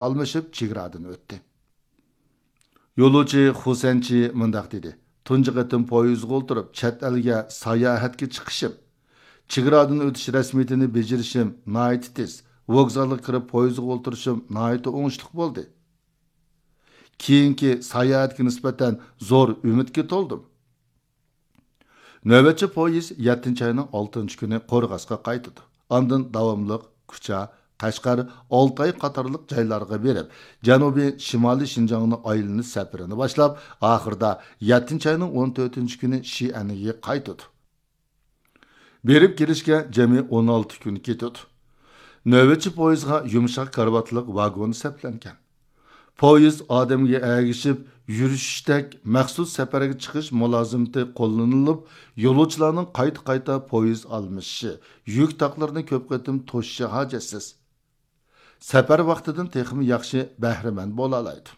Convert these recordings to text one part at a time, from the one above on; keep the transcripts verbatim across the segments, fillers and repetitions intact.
ئالمىشىپ چېگرادىن ئۆتتى. يولۇچى خۇسەنچى مۇنداق دېدى: تۇنجى قېتىم پويىزغا ئولتۇرۇپ، چەت ئەلگە ساياھەتكە چىقىشىم، چېگرادىن ئۆتۈش رەسمىيىتىنى بېجىرىشىم ناھايىتى تېز، ۋوگزالغا كىرىپ پويىزغا ئولتۇرۇشۇم ناھايىتى ئوڭۇشلۇق بولدى. كېيىنكى ساياھەتكە نىسبەتەن زور ئۈمىدكە تولدۇم. نۆۋەتچى پويىز يەتتىنچى ئاينىڭ ئالتىنچى كۈنى قورغاسقا قايتىدۇ. ئاندىن داۋاملىق كۇچا، قەشقەر، ئالتاي قاتارلىق جايلارغا بېرىپ، جەنۇبىي شىمالىي شىنجاڭنى ئايلىنىش سەپىرىنى باشلاپ، ئاخىرىدا يەتتىنچى ئاينىڭ ئون تۆتىنچى كۈنى شىئەنگە قايتىدۇ. بېرىپ كېلىشكە جەمئىي ئون ئالتە كۈن كېتىدۇ. نۆۋەتچى پويىزغا يۇمشاق كارىۋاتلىق ۋاگون سەپلەنگەن. پويىز ئادەمگە ئەگىشىپ يۈرۈشۈشتەك مەخسۇس سەپەرگە چىقىش مۇلازىمىتى قوللىنىلىپ، يولۇچىلارنىڭ قايتا-قايتا پويىز ئالمىشىشى، يۈك تاقلىرىنى كۆپ قېتىم توشۇشى ھاجەتسىز. سەپەر ۋاقتىدىن تېخىمۇ ياخشى بەھرىمەن بولالايدۇ.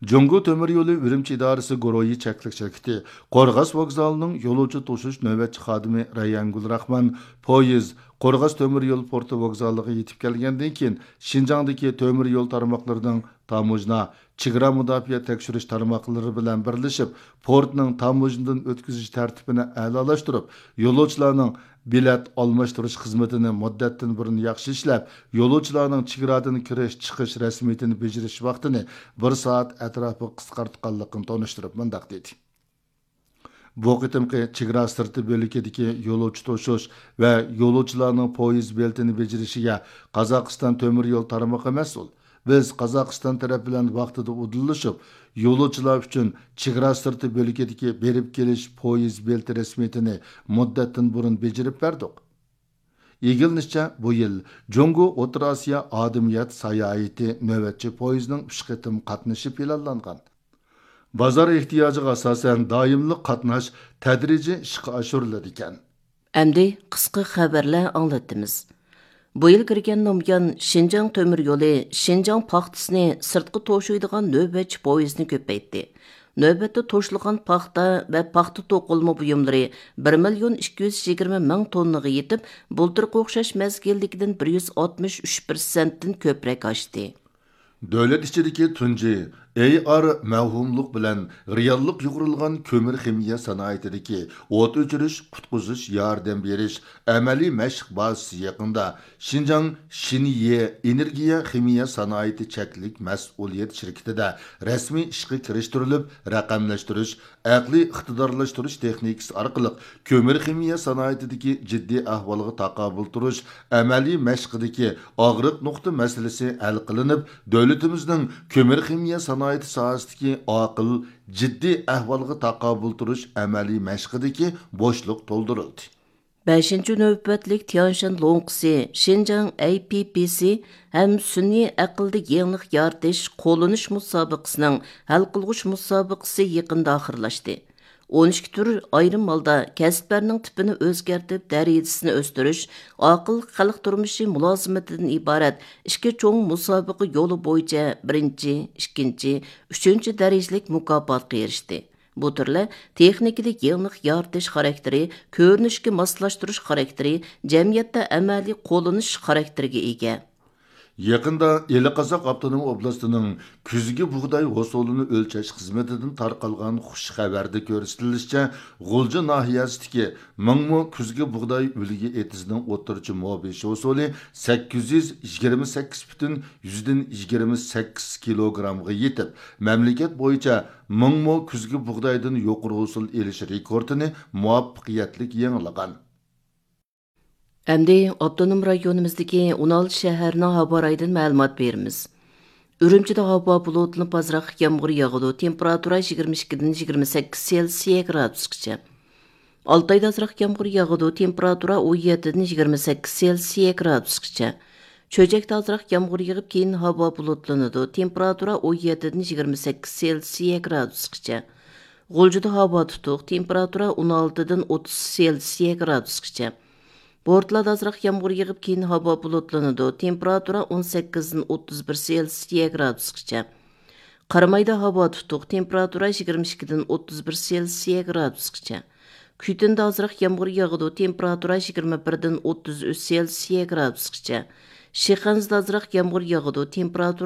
جۇڭگو تۆمۈر يولى ئۈرۈمچى ئىدارىسى گۇرۇھى چەكلىك شىركىتى قورغاس ۋوگزالىنىڭ يولۇچى توشۇش نۆۋەتچى خادىمى رەيھانگۈل راخمان پويىز قورغاس تۆمۈر يول پورتى ۋوگزالىغا يېتىپ كەلگەندىن كېيىن، شىنجاڭدىكى تۆمۈر يول تارماقلىرىنىڭ تاموژنا، چېگرا مۇداپىئە تەكشۈرۈش تارماقلىرى بىلەن بىرلىشىپ، پورتنىڭ تاموژنىدىن ئۆتكۈزۈش تەرتىپىنى ئەلالاشتۇرۇپ، يولۇچىلارنىڭ بېلەت ئالماشتۇرۇش خىزمىتىنى مۇددەتتىن بۇرۇن ياخشى ئىشلەپ، يولۇچىلارنىڭ چېگرادىن كىرىش، چىقىش رەسمىيىتىنى بېجىرىش ۋاقتىنى بىر سائەت ئەتراپىغا قىسقارتقانلىقىنى تونۇشتۇرۇپ مۇنداق دېدى: بۇ قېتىمقى چېگرا سىرتى بۆلىكىدىكى يولۇچى توشۇش ۋە يولۇچىلارنىڭ پويىز بېلىتىنى بېجىرىشىگە قازاقىستان تۆمۈر يول تارمىقى مەسئۇل. بىز قازاقىستان تەرەپ بىلەن ۋاقتىدا ئۇدۇللىشىپ، يولۇچىلار ئۈچۈن چېگرا سىرتى بۆلىكىدىكى بېرىپ كېلىش پويىز بېلىتى رەسمىيىتىنى مۇددەتتىن بۇرۇن بېجىرىپ بەردۇق. ئىگىلىنىشىچە، بۇ يىل جۇڭگو ئوتتۇرا ئاسىيا ئادەمىيەت ساياھىتى نۆۋەتچى پويىزنىڭ ئۈچ قېتىم قاتنىشى پىلانلانغان. بازار ئېھتىياجىغا ئاساسەن دائىملىق قاتناش تەدرىجىي ئىشقا ئاشۇرۇلىدىكەن. ئەمدى قىسقا خەۋەرلەر ئاڭلىتىمىز. بۇ يىل كىرگەن نامىيان شىنجاڭ تۆمۈر يولى شىنجاڭ پاختىسىنى سىرتقا توشۇيدىغان نۆۋەتچى پويىزنى كۆپەيتتى. نۆۋەتتە توشۇلغان پاختا ۋە پاختا توقۇلما بۇيۇملىرى بىر مىليون ئىككى يۈز يىگىرمە مىڭ توننىغا يېتىپ، بۇلتۇرقى ئوخشاش مەزگىلدىكىدىن بىر يۈز ئاتمىش ئۈچ پىرسەنتتىن كۆپرەك ئاشتى. دۆلەت ئىچىدىكى تۇنجى ئېي ئار مەۋھۇملۇق بىلەن رېئاللىق يۇغۇرۇلغان كۆمۈر خىمىيە سانائىتىدىكى ئوت ئۆچۈرۈش، قۇتقۇزۇش، ياردەم بېرىش ئەمەلىي مەشىق بازىسى يېقىندا شىنجاڭ شىنيې ئېنېرگىيە خىمىيە سانائىتى چەكلىك مەسئۇلىيەت شىركىتىدە رەسمىي ئىشقا كىرىشتۈرۈلۈپ، رەقەملەشتۈرۈش، ئەقلىي ئىقتىدارلاشتۇرۇش تېخنىكىسى ئارقىلىق كۆمۈر خىمىيە سانائىتىدىكى جىددىي ئەھۋالغا تاقابىل تۇرۇش ئەمەلىي مەشقىدىكى ئاغرىق نۇقتا مەسىلىسى ھەل قىلىنىپ، دۆلىتىمىزنىڭ كۆمۈر خىمىيە سانائىتى ساھەسىدىكى ئاقىل، جىددىي ئەھۋالغا تاقابىل تۇرۇش ئەمەلىي مەشقىدىكى بوشلۇق تولدۇرۇلدى. بەشىنچى نۆۋەتلىك تيانشان لوڭقىسى شىنجاڭ ئەي پىي پىي سى ھەم سۈنئىي ئەقىلدە يېڭىلىق يارىتىش قوللىنىش مۇسابىقىسىنىڭ ھەل قىلغۇچ مۇسابىقىسى يېقىندا ئاخىرلاشتى. ئون ئىككى تۈر ئايرىم ھالدا كەسىپلەرنىڭ تىپىنى ئۆزگەرتىپ، دەرىجىسىنى ئۆستۈرۈش، ئاقىل خەلق تۇرمۇشى مۇلازىمىتىدىن ئىبارەت ئىككى چوڭ مۇسابىقە يولى بويىچە بىرىنچى، ئىككىنچى، ئۈچىنچى دەرىجىلىك مۇكاپاتقا ئېرىشتى. بۇ تۈرلەر تېخنىكىدا يېڭىلىق يارىتىش خاراكتېرى، كۆرۈنۈشكە ماسلاشتۇرۇش خاراكتېرى، جەمئىيەتتە ئەمەلىي قوللىنىش خاراكتېرىگە ئىگە. يېقىندا ئىلى قازاق ئاپتونوم ئوبلاستىنىڭ كۈزگى بۇغداي ھوسۇلىنى ئۆلچەش خىزمىتىدىن تارقالغان خۇش خەۋەردە كۆرسىتىلىشىچە، غۇلجا ناھىيەسىدىكى مىڭمو كۈزگى بۇغداي ئۈلگە ئېتىزىنىڭ ئوتتۇرىچە مو بېشى ھوسۇلى سەككىز يۈز يىگىرمە سەككىز پۈتۈن يۈزدىن يىگىرمە سەككىز كىلوگرامغا يېتىپ، مەملىكەت بويىچە مىڭمو كۈزگى بۇغدايدىن يۇقىرى ھوسۇل ئېلىش رېكورتىنى مۇۋەپپەقىيەتلىك يېڭىلىغان. ئەمدى ئاپتونوم رايونىمىزدىكى ئون ئالتە شەھەرنىڭ ھاۋا رايىدىن مەلۇمات بېرىمىز. ئۈرۈمچىدە ھاۋا بۇلۇتلىنىپ ئازراق يامغۇر ياغىدۇ، تېمپېراتۇرا يىگىرمە ئىككىدىن يىگىرمە سەككىز سېلسىيە گرادۇسقىچە. ئالتايدا ئازراق يامغۇر ياغىدۇ، تېمپېراتۇرا ئون يەتتىدىن يىگىرمە سەككىز سېلسىيە گرادۇسقىچە. چۆچەكتە ئازراق يامغۇر يېغىپ، كېيىن ھاۋا بۇلۇتلىنىدۇ، تېمپېراتۇرا ئون يەتتىدىن يىگىرمە سەككىز سېلسىيە گرادۇسقىچە. غۇلجىدا ھاۋا تۇتۇق، تېمپېراتۇرا ئون ئالتىدىن ئوتتۇز سېلسىيە گرادۇسقىچە. بورتالادا ئازراق يامغۇر يېغىپ، كېيىن ھاۋا بۇلۇتلىنىدۇ، تېمپېراتۇرا ئون سەككىزدىن ئوتتۇز بىر سېلسىيە گرادۇسقىچە. قارامايدا ھاۋا تۇتۇق، تېمپېراتۇرا يىگىرمە ئىككىدىن ئوتتۇز بىر سېلسىيە گرادۇسقىچە. كۈيتۈندە ئازراق يامغۇر ياغىدۇ، تېمپېراتۇرا يىگىرمە بىردىن ئوتتۇز ئۈچ سېلسىيە گرادۇسقىچە. شىخەنزىدە ئازراق يامغۇر ياغىدۇ. تېمپېراتۇرا